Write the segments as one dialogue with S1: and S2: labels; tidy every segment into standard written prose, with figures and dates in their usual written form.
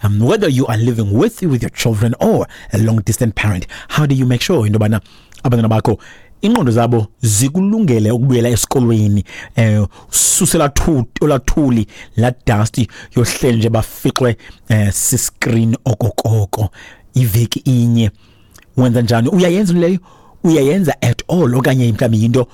S1: Whether you are living with your children or a long distant parent, how do you make sure into yobana abantwana bakho ingqondo zabo zikulungele ukubuyela esikolweni, susela olathuli la dust yohleli nje bafixwe siscreen okokoko iveki inye? Wenza njani? Uyayenza leyo? Uyayenza at all, okanye mhlawumbi yinto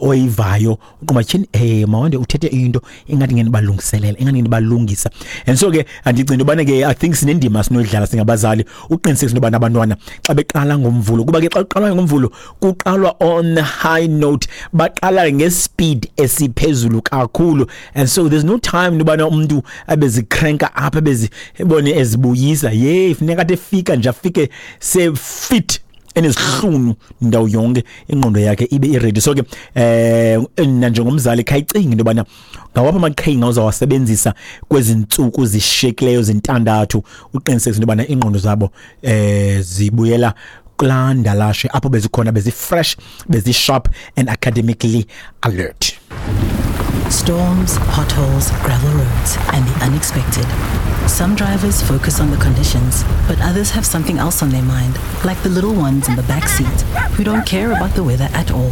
S1: oyivayo uqoma tyhini, mawande uthethe into ingathi ngenibalungiselela, ingathi ngenibalungisa? And so ke andicinga into yobana ke, I think sinendima sinoyidlala singabazali uqinisekisa into yobana abantwana xa beqala ngoMvulo, kuba ke xa kuqalwa ngoMvulo kuqalwa on high note, baqala ngespeed esiphezulu kakhulu, and so there's no time into yobana umntu abezikrenka apha ebezi ebone ezibuyisa. Ye funeka athi efika nje afike se-fit, enezihlunu ndawo yonke, ingqondo yakhe ibe iready. So ke nanjengomzali khayicinga into yobana ngawaphi amaqhinga uzawasebenzisa kwezi ntsuku zishiyekileyo zintandathu uqinisekisa into yobana ingqondo zabo zibuyela kulaa ndalashe apho bezikhona, bezi-fresh, bezi-sharp and academically alert.
S2: Storms, potholes, gravel roads, and the unexpected. Some drivers focus on the conditions, but others have something else on their mind, like the little ones in the back seat who don't care about the weather at all.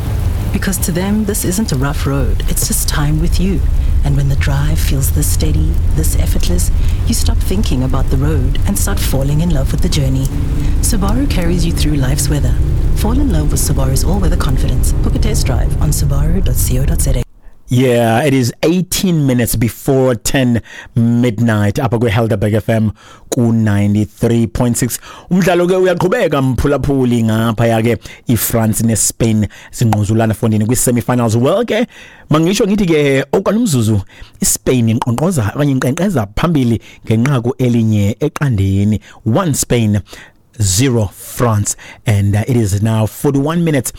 S2: Because to them, this isn't a rough road, it's just time with you. And when the drive feels this steady, this effortless, you stop thinking about the road and start falling in love with the journey. Subaru carries you through life's weather. Fall in love with Subaru's all weather confidence. Book a test drive on subaru.co.za.
S1: Yeah, it is 18 minutes before 10 midnight apha kwi-Helderberg FM ku-93.6. Umdlalo ke uyaqhubeka, mphulaphuli, ngaphaya ke iFrance neSpain zingquzulana fondini kwi-semi-finals. Well ke mangisho ngithi ke okwalumzuzu iSpain inqonqoza okanye inkqenkqeza phambili ngenqaku 1-0, 1 Spain, 0 France, and it is now 41 minutes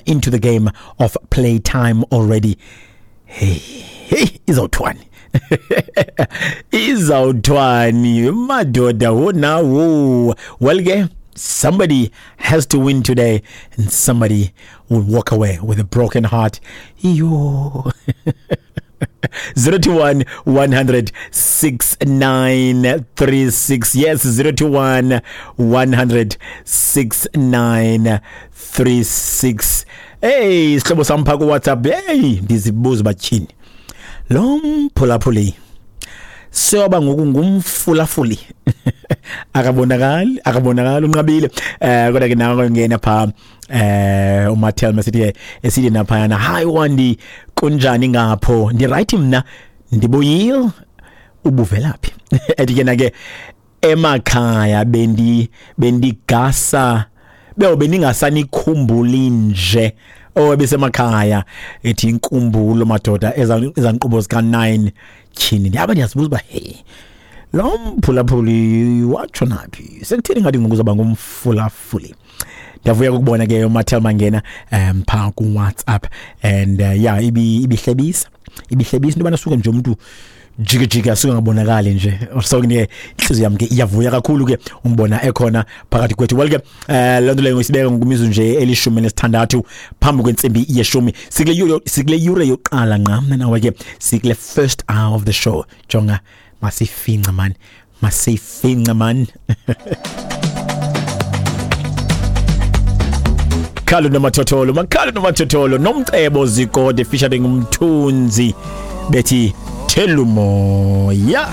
S1: into the game of play time already. Hey, hey, izawuthwani, izawuthwani madoda wona wo? Well ke somebody has to win today and somebody will walk away with a broken heart. Iyo, 021 100 6936. Yes, 021 100 6936. Hey, sihlobo sam phaa kuWhatsApp, hey, ndizibuza uba tyhini lo mphulaphuli seyoba ngoku ngumfulafuli, akabonakali, akabonakali, unqabile. Kodwa ke nawe ngena pha uMathel masithi esithi naphayana, "Hi Wandi, kunjani ngapho?" Ndi right mna, ndibuyile. Ubuvelaphi? Ethi ke na ke emakhaya bendigasa bewo bendingasanikhumbuli nje. Oh, besemakhaya, ethi inkumbulo madoda ezankqubo zika 9. Tyhini, ndiyaba ndiyazibuza uba hey, lo mphulaphuli watsho naphi, sekutheni ngathi ngoku uzawuba ngumfulafuli? Ndiyavuya ukubona ke uMathel mangena phaa ku-WhatsApp and yeah, ibihlebisa, ibihlebisa into yobana suke nje umntu jike jike asuke ngabonakali nje. So ke inhliziyo yami ke iyavuya kakhulu ke umbona ekhona phakathi kwethu. Well ke loo nto leyo isibeka ngokumizuzu nje 16 phambi kwentsimbi yeshumi. Sikule yure yokuqala ngqa mna nawe ke, sikule first hour of the show. Jonga, masifince man, masifince man. Khalo nomathotholo, makhalo nomathotholo, Nomcebo Zikode featuring Umthunzi, bethi Thelumoya.